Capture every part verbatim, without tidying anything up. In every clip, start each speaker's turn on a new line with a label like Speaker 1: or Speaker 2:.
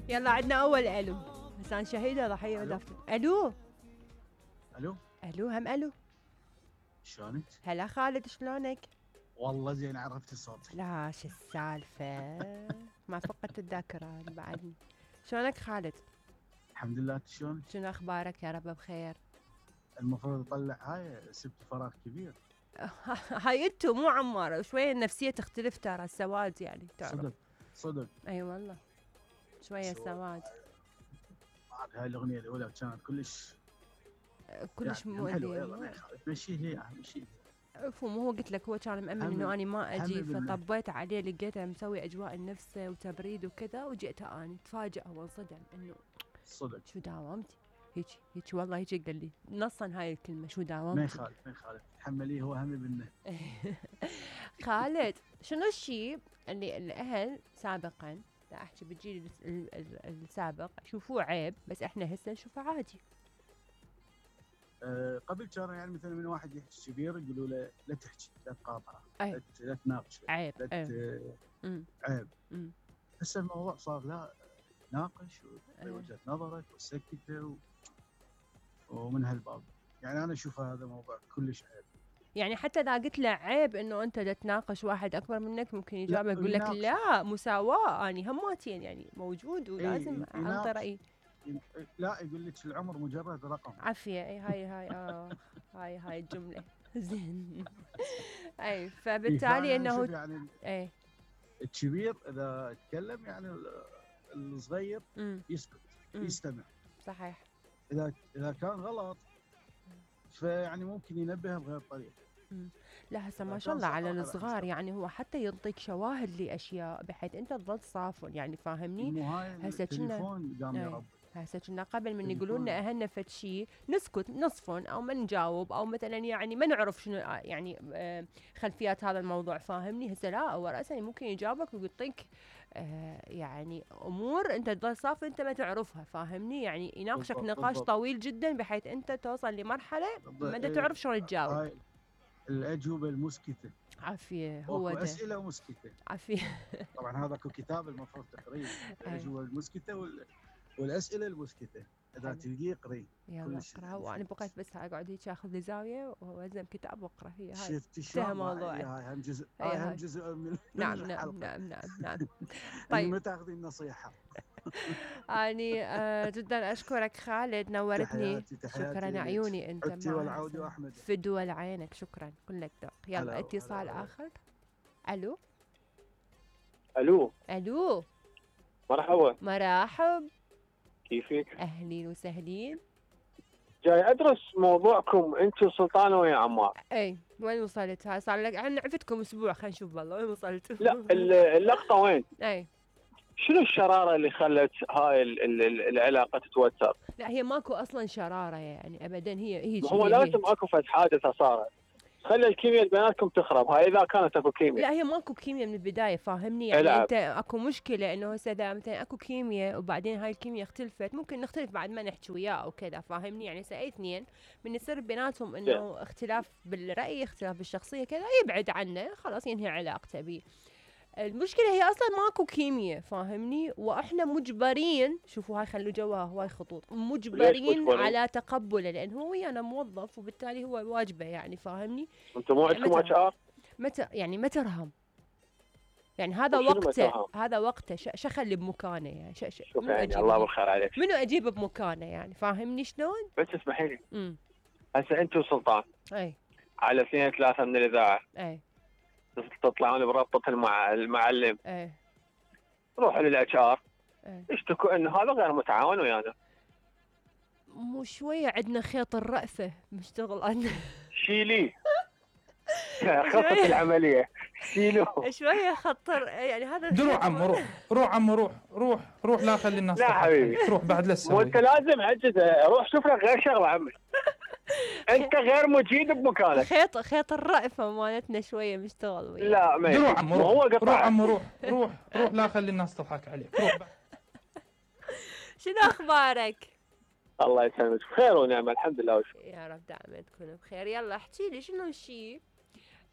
Speaker 1: يلا عندنا اول الو. انسان شهيده ضحيه ودفتر. الو
Speaker 2: الو
Speaker 1: الو هم الو.
Speaker 2: شلونك؟
Speaker 1: هلا خالد شلونك؟
Speaker 2: والله زين عرفت الصوت.
Speaker 1: لا شو السالفه؟ ما فقدت الذاكره بعدني. شلونك خالد؟
Speaker 2: الحمد لله. شلونك؟
Speaker 1: شنو اخبارك؟ يا رب بخير.
Speaker 2: المفروض اطلع هاي سبت فراغ كبير.
Speaker 1: هاي انتو مو عماره شويه النفسيه تختلف ترى السواد يعني تعرف.
Speaker 2: صدق صدق.
Speaker 1: اي أيوة والله شويه سواد.
Speaker 2: هاي الاغنيه الاولى كانت كلش
Speaker 1: كلش
Speaker 2: يعني
Speaker 1: مؤذيه.
Speaker 2: حلوه. يلا ما يخالف مشيه هي مشيه.
Speaker 1: مو هو قلت لك هو كان مأمن انه اني ما اجي فطبيت عليه لقيته مسوي اجواء النفسه وتبريد وكذا وجئت اني تفاجأ وانصدم انه
Speaker 2: صدق
Speaker 1: شو داومتي هيك هيك والله هيك قال لي نصا هاي الكلمه شو داومتي.
Speaker 2: ما يخالف ما يخالف تحمليه هو همي منه.
Speaker 1: خالد شنو الشيء اللي الاهل سابقا لا احكي بالجيل السابق يشوفوه عيب بس احنا هسه نشوفه عادي؟
Speaker 2: أه قبل كان يعني مثلا من واحد يحكي كبير يقولوا له لا تحكي لا تقاطعه
Speaker 1: لا,
Speaker 2: لا تناقشه
Speaker 1: عيب
Speaker 2: لا
Speaker 1: أيه.
Speaker 2: عيب.
Speaker 1: مم.
Speaker 2: هسه الموضوع صار لا ناقش ووجهه نظرك وسكته و... ومن هالباب يعني انا اشوف هذا موضوع كلش عيب.
Speaker 1: يعني حتى اذا قلت له عيب انه انت تناقش واحد اكبر منك ممكن يجاوبك يقول لك لا مساواه اني هماتين يعني موجود ولازم
Speaker 2: ايه
Speaker 1: انطي رايي.
Speaker 2: لا يقول لك العمر مجرد رقم.
Speaker 1: عافيه اي هاي هاي اه هاي هاي الجمله زين. اي فبالتالي انه
Speaker 2: يعني
Speaker 1: اي
Speaker 2: الكبير اذا تكلم يعني الصغير
Speaker 1: مم.
Speaker 2: يسكت
Speaker 1: مم.
Speaker 2: يستمع.
Speaker 1: صحيح.
Speaker 2: اذا اذا كان غلط فيعني ممكن ينبه بغير طريقه.
Speaker 1: لا هسه ما شاء الله على الصغار يعني هو حتى ينطيك شواهد لاشياء بحيث انت تظل صافن يعني فاهمني.
Speaker 2: هسه التليفون قام يربي.
Speaker 1: هسه كنا قبل من يقولوا لنا اهلنا فد شيء نسكت نصفن او ما نجاوب او مثلا يعني ما نعرف شنو يعني خلفيات هذا الموضوع فاهمني. هسه لا هو راسا ممكن يجاوبك ويعطيك آه يعني امور انت تظل صافي انت ما تعرفها فاهمني. يعني يناقشك نقاش بالضبط. طويل جدا بحيث انت توصل لمرحله ما تعرف شلون تجاوب.
Speaker 2: الاجوبه المسكته.
Speaker 1: عافيه هو ده.
Speaker 2: اسئله مسكته.
Speaker 1: عافيه.
Speaker 2: طبعا هذا اكو كتاب المفروض تقريه الاجوبه المسكته وال... والاسئله المسكته اذا تلقيه اقريه.
Speaker 1: يلا اقرا وانا بقيت بس اقعد هيك اخذ لي زاويه والزم كتاب واقرا. هي هاي
Speaker 2: شفتي شلون
Speaker 1: موضوع
Speaker 2: هاي هم جزء هاي هم جزء من
Speaker 1: نعم نعم نعم نعم نعم.
Speaker 2: طيب ما تاخذين نصيحه.
Speaker 1: اني آه جدا اشكرك خالد نورتني.
Speaker 2: تحياتي تحياتي
Speaker 1: شكرا عيوني انت
Speaker 2: انت والعود واحمد
Speaker 1: فدوى لعينك. شكرا كلك ذوق. يلا اتصال اخر. الو
Speaker 3: الو
Speaker 1: الو
Speaker 3: مرحبا.
Speaker 1: مرحب
Speaker 3: كيفك؟
Speaker 1: اهلين وسهلين.
Speaker 3: جاي ادرس موضوعكم انت وسلطان ويا عمار.
Speaker 1: اي وين وصلت؟ هاي صار لك احنا عفتكم اسبوع خلينا نشوف والله وين وصلت.
Speaker 3: لا اللقطه وين؟
Speaker 1: اي
Speaker 3: شنو الشراره اللي خلت هاي ال ال العلاقه تتوتر؟
Speaker 1: لا هي ماكو اصلا شراره يعني ابدا. هي هي
Speaker 3: هو
Speaker 1: هي
Speaker 3: لازم اكو فد حادثه صارت خلي الكيمياء بيناتكم تخرب. هاي اذا كانت اكو كيمياء.
Speaker 1: لا هي ماكو كيمياء من البدايه فاهمني. يعني
Speaker 3: العب.
Speaker 1: انت اكو مشكله انه هسه اذا مثلا اكو كيمياء وبعدين هاي الكيمياء اختلفت ممكن نختلف بعد ما نحكي وياه او كذا فاهمني. يعني هسه اي اثنين من يصير بيناتهم انه اختلاف بالراي اختلاف بالشخصيه كذا يبعد عنه خلاص ينهي علاقته بيه. المشكله هي اصلا ماكو كيمياء فاهمني. واحنا مجبرين شوفوا هاي خلوا جواها هواي خطوط مجبرين على تقبله لان هو ويانا موظف وبالتالي هو واجبه يعني فاهمني.
Speaker 3: انتم مو عندكم اتش ار؟
Speaker 1: متى يعني ما ترهم يعني هذا وقته هذا وقته ش خلي بمكانه يعني ش ش
Speaker 3: شوف يعني الله بالخير عليك
Speaker 1: منو اجيب بمكانه يعني فاهمني شلون.
Speaker 3: بس اسمحي لي
Speaker 1: امم
Speaker 3: هسه انت وسلطان
Speaker 1: اي
Speaker 3: على اثنين ثلاثه من الاذاعه
Speaker 1: اي
Speaker 3: تطلعون بربطه المع... المعلم.
Speaker 1: ايه
Speaker 3: روحوا للاتش ار
Speaker 1: ايه
Speaker 3: اشتكوا انه هذا غير متعاون ويانا.
Speaker 1: مو شويه عندنا خيط الرأفه مشتغل عندنا.
Speaker 3: شيلي خطة العملية شيلوه
Speaker 1: شويه خطر يعني هذا.
Speaker 4: روح عمو روح روح عمو روح روح روح لا خلي الناس.
Speaker 3: لا حبيبي
Speaker 4: روح بعد لا تسوي.
Speaker 3: وانت لازم عجز روح شوف لك غير شغله عمي. انت غير مجيد بمكانك.
Speaker 1: خيط خيط الرأفه مالتنا شويه مشتغل وياه.
Speaker 3: لا ما
Speaker 4: روح عمو روح
Speaker 3: هو
Speaker 4: روح عمو روح روح روح لا خلي الناس تضحك عليك. روح.
Speaker 1: شنو اخبارك؟
Speaker 3: الله يسلمك بخير ونعمه الحمد لله وشكرا.
Speaker 1: يا رب دائما تكونوا بخير. يلا احكي لي شنو الشيء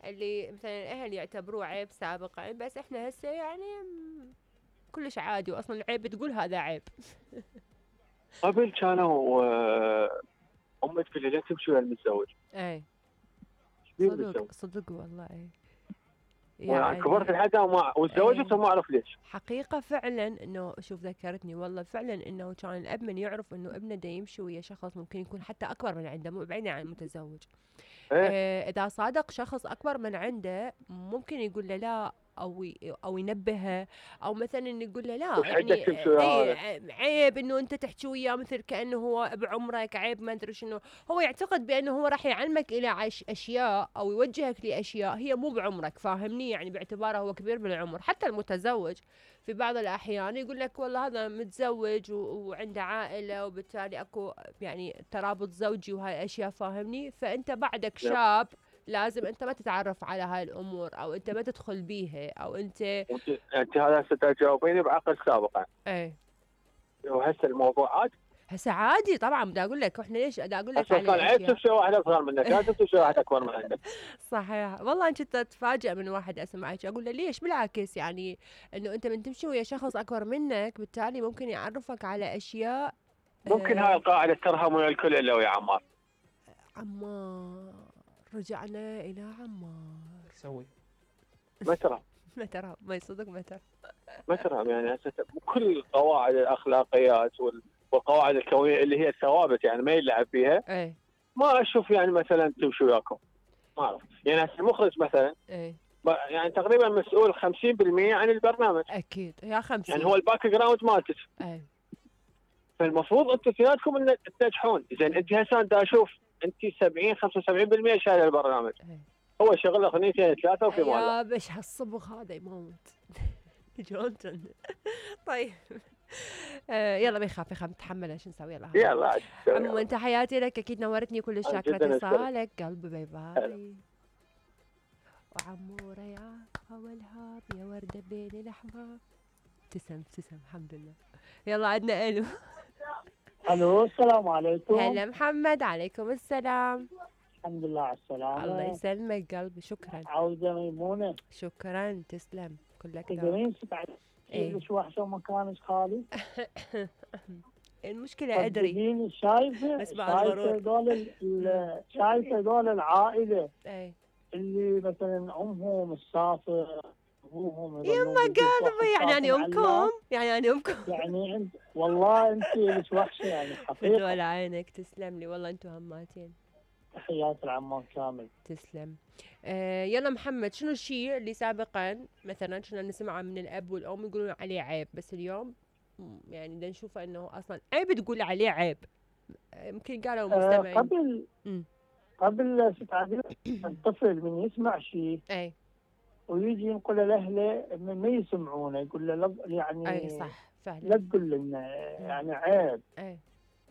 Speaker 1: اللي مثلا الاهل يعتبروه عيب سابقا بس احنا هسه يعني كلش عادي، واصلا عيب تقول هذا عيب.
Speaker 3: قبل كانوا آه، امي تقول لي لا تمشي ويا المتزوج.
Speaker 1: اي
Speaker 3: ليه
Speaker 1: صدق
Speaker 3: المتزوج؟
Speaker 1: صدق والله. اي
Speaker 3: يعني كبرت لحد وما وتزوجت وما اعرف ليش.
Speaker 1: حقيقة فعلا انه شوف ذكرتني والله فعلا انه كان الاب من يعرف انه ابنه دا يمشي ويا شخص ممكن يكون حتى اكبر من عنده، مو بعيدا عن المتزوج.
Speaker 3: إيه؟
Speaker 1: آه اذا صادق شخص اكبر من عنده ممكن يقول له لا، او ي- او ينبهه، او مثلا يقول له لا
Speaker 3: وش
Speaker 1: يعني
Speaker 3: حقك تمشي ويا
Speaker 1: اي
Speaker 3: هذا؟
Speaker 1: عيب انه انت تحكي وياه مثل كانه هو بعمرك، عيب ما ادري شنو. هو يعتقد بانه هو راح يعلمك الى عش اشياء او يوجهك لاشياء هي مو بعمرك، فاهمني؟ يعني باعتباره هو كبير بالعمر. حتى المتزوج في بعض الاحيان يقول لك والله هذا متزوج و- وعنده عائله، وبالتالي اكو يعني ترابط زوجي وهاي الاشياء، فاهمني؟ فانت بعدك
Speaker 3: نعم.
Speaker 1: شاب لازم انت ما تتعرف على هاي الامور، او انت ما تدخل بيها، او انت
Speaker 3: انت انت هذا هسه تجاوبيني بعقل سابق يعني.
Speaker 1: ايه.
Speaker 3: وهسه الموضوع عاد
Speaker 1: هسه عادي طبعا، بدي اقول لك احنا ليش بدي اقول لك
Speaker 3: هسه كان
Speaker 1: على
Speaker 3: عيب
Speaker 1: اشياء.
Speaker 3: تمشي واحد اصغر منك، لا تمشي واحد اكبر من عندك.
Speaker 1: صحيح والله. انت تتفاجئ من واحد اسمعك اقول له ليش؟ بالعكس يعني انه انت من تمشي ويا شخص اكبر منك بالتالي ممكن يعرفك على اشياء.
Speaker 3: ممكن
Speaker 1: آه
Speaker 3: هاي القاعده ترهم ويا الكل الا ويا عمار.
Speaker 1: عمار، رجعنا الى عمار.
Speaker 4: تسوي
Speaker 3: ما ترى
Speaker 1: ما ترى ما يصدق ما ترى.
Speaker 3: ما ترى يعني هسه كل قواعد الاخلاقيات وال- والقواعد الكونيه اللي هي الثوابت يعني ما يلعب فيها.
Speaker 1: ايه
Speaker 3: ما اشوف يعني مثلا تمشي وياكم، ما اعرف يعني هسه المخرج مثلا
Speaker 1: ايه
Speaker 3: ب- يعني تقريبا مسؤول خمسين بالمئة عن البرنامج،
Speaker 1: اكيد يا خمسين.
Speaker 3: يعني هو الباك جراوند مالتك.
Speaker 1: ايه
Speaker 3: فالمفروض انتم اثنيناتكم ان تنجحون. زين انت هسه دا اشوف انت سبعين خمسة وسبعين بالمئة شايله البرنامج،
Speaker 1: ايه
Speaker 3: هو شغل اغنيتين ثلاثه وفي مال.
Speaker 1: يا بش هالصبغ هذا يموت. جونتون. طيب آه يلا ما يخاف يخاف نتحمل، شو نسوي؟ يلا
Speaker 3: يلا عاد تسوي.
Speaker 1: عمو انت حياتي لك اكيد نورتني، كل
Speaker 3: جداً
Speaker 1: شاكرة
Speaker 3: أشكرك.
Speaker 1: اتصالك قلبي. باي باي. وعمورة يا والهاب يا وردة بين الاحباب. تسلم تسلم الحمد لله. يلا عندنا الو.
Speaker 5: الو السلام عليكم.
Speaker 1: هلا محمد. عليكم السلام.
Speaker 5: الحمد لله على السلامة.
Speaker 1: الله يسلمك قلبي. شكرا
Speaker 5: عودة ميمونة.
Speaker 1: شكرا تسلم كلك ذوق.
Speaker 5: تقدرين تبعد
Speaker 1: إيه.
Speaker 5: ليش وحشة مكانك خالي؟
Speaker 1: المشكلة ادري
Speaker 5: صدقيني شايفة
Speaker 1: بس بعد
Speaker 5: شايفة
Speaker 1: غرور.
Speaker 5: دول ال- ال- شايفة دول العائلة
Speaker 1: اي
Speaker 5: اللي مثلا امهم مسافر ابوهم
Speaker 1: يما قلبي يعني انا امكم يعني انا امكم.
Speaker 5: يعني انت والله انت ليش وحشة يعني حقيقة.
Speaker 1: فدول عينك تسلم لي والله، انتم هماتين.
Speaker 5: تحيات العمان كامل.
Speaker 1: تسلم. آه يلا محمد، شنو الشيء اللي سابقا مثلا كنا نسمعه من الاب والام يقولون عليه عيب، بس اليوم مم، يعني بدنا نشوفه انه اصلا عيب تقول عليه عيب؟ آه، يمكن قالوا
Speaker 5: آه
Speaker 1: مستمعين.
Speaker 5: قبل
Speaker 1: مم.
Speaker 5: قبل ست عدد الطفل من يسمع شيء
Speaker 1: اي
Speaker 5: ويجي ينقل لاهله ما يسمعونه، يقول له لا يعني
Speaker 1: اي صح فعلا.
Speaker 5: لا تقول لنا يعني عيب.
Speaker 1: اي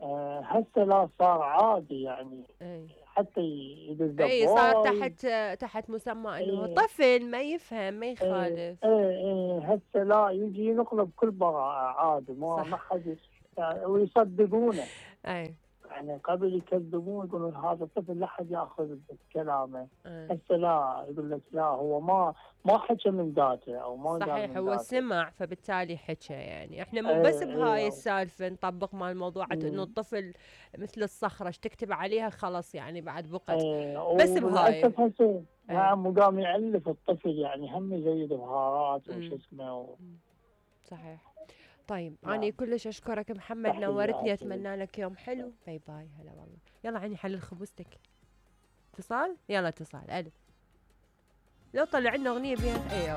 Speaker 5: آه هسه لا صار عادي يعني
Speaker 1: اي
Speaker 5: حتى يدز
Speaker 1: اي صار
Speaker 5: الضواي.
Speaker 1: تحت تحت مسمى انه
Speaker 5: إيه.
Speaker 1: طفل ما يفهم ما
Speaker 5: ايه
Speaker 1: يخالف.
Speaker 5: ايه إيه، هسه لا يجي ينقله بكل براءة عادي، ما
Speaker 1: صح.
Speaker 5: ما حد يعني ويصدقونه.
Speaker 1: اي
Speaker 5: يعني قبل يكذبون يقولون هذا الطفل لا حد ياخذ بكلامه،
Speaker 1: اي
Speaker 5: هسه لا يقول لك لا هو ما ما حكى من ذاته او ما قال
Speaker 1: صحيح.
Speaker 5: من
Speaker 1: هو
Speaker 5: ذاته.
Speaker 1: سمع فبالتالي حكى. يعني احنا مو
Speaker 5: إيه،
Speaker 1: بس بهاي
Speaker 5: إيه.
Speaker 1: السالفه نطبق مع الموضوع انه
Speaker 5: مم.
Speaker 1: الطفل مثل الصخره ايش تكتب عليها خلاص يعني بعد بقت.
Speaker 5: ايه
Speaker 1: بس بهاي.
Speaker 5: وللاسف هسه
Speaker 1: إيه.
Speaker 5: نعم وقام يعلف الطفل يعني هم يزيد بهارات
Speaker 1: مم.
Speaker 5: وش اسمه و...
Speaker 1: صحيح. طيب
Speaker 5: نعم.
Speaker 1: انا كلش اشكرك محمد،
Speaker 5: تحياتي.
Speaker 1: نورتني، اتمنى لك يوم حلو. باي باي. هلا والله. يلا عيني حلل خبزتك. اتصال. يلا اتصال. الو. لو طلع لنا اغنيه بيها اي اوكي.